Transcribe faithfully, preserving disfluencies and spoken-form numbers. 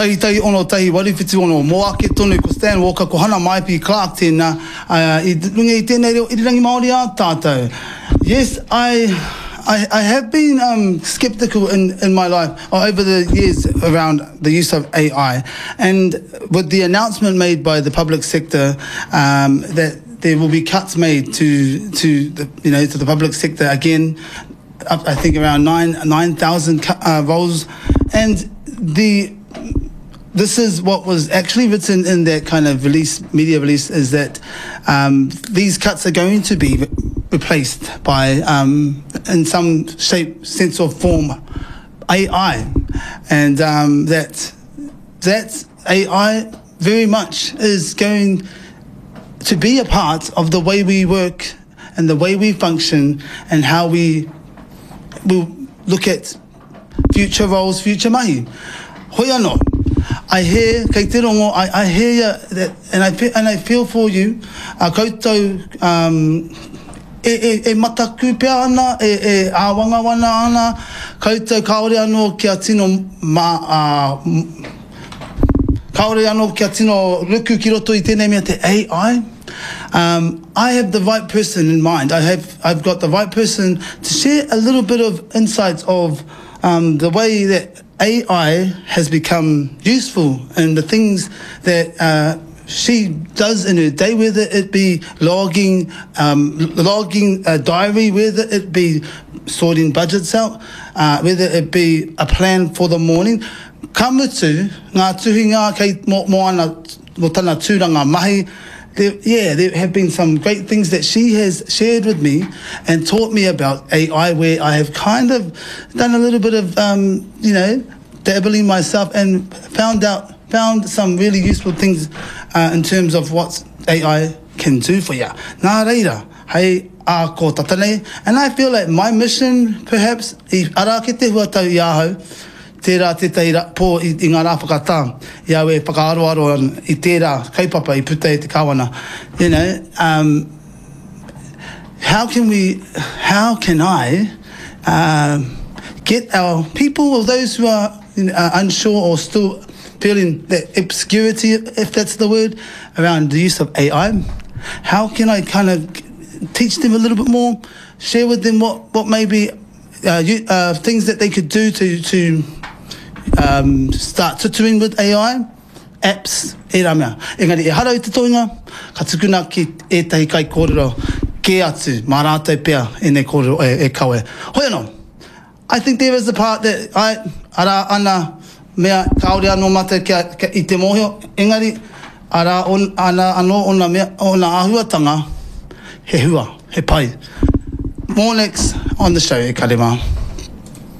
Tahi tahi ono tahi waru whitu ono mō ake tonu ko Stan Walker ko Hana Maipi Clark tēnā uh, i runga i tēnei reo irirangi Māori a tātou. Yes, I, I, I have been um, skeptical in, in my life or over the years around the use of AI and with the announcement made by the public sector um, that there will be cuts made to to the you know to the public sector again up, I think around nine nine thousand uh, roles and the this is what was actually written in that kind of release, media release, is that um, these cuts are going to be re- replaced by, um, in some shape, sense or form, AI, and um, that that AI very much is going to be a part of the way we work and the way we function and how we will look at future roles, future mahi. Hoi anō, I hear, kei te rongo, I, I hear ya that, and I feel, and I feel for you, uh, koutou, um, e, e, e mataku pea ana, e, e āwangawana ana, koutou kāore anō kia tino ma, uh, kāore anō kia tino ruku ki roto i tēnei mea te AI. Um, I have the right person in mind. I have, I've got the right person to share a little bit of insights of um, the way that AI has become useful and the things that uh, she does in her day, whether it be logging, um, logging a diary, whether it be sorting budgets out, uh, whether it be a plan for the morning. Ka mutu, ngā tuhinga kei mō, mō ana, mō tana tūranga mahi, there, yeah, there have been some great things that she has shared with me and taught me about AI where I have kind of done a little bit of, um, you know, dabbling myself and found out, found some really useful things uh, in terms of what AI can do for you. Nā reira, hei a ko tata nei, and I feel like my mission, perhaps, i ara ake te huatau i ahau, tērā tētahi ra, pō i, i ngā rā whakatā, i au e whakaaroaro ana i tērā kaupapa i puta e te kāwana. You know, um, how can we, how can I um, get our people or those who are uh, unsure or still feeling that obscurity, if that's the word, around the use of AI, how can I kind of teach them a little bit more, share with them what, what maybe uh, you, uh, things that they could do to, to um, start tutuing with AI, apps, e rā mea. Engari, ehara i te toenga, ka tukuna ki ētahi kaikōrero kē atu, mā rātou pea ēnei kōrero e, e kawe. Hoi anō, I think there is a part that I, arā ana mea kāore anō mātou kia, kia, i te mōhio, engari, arā on, ana anō ona mea, ona āhuatanga, he hua, he pai. More next on the show, e kare mā.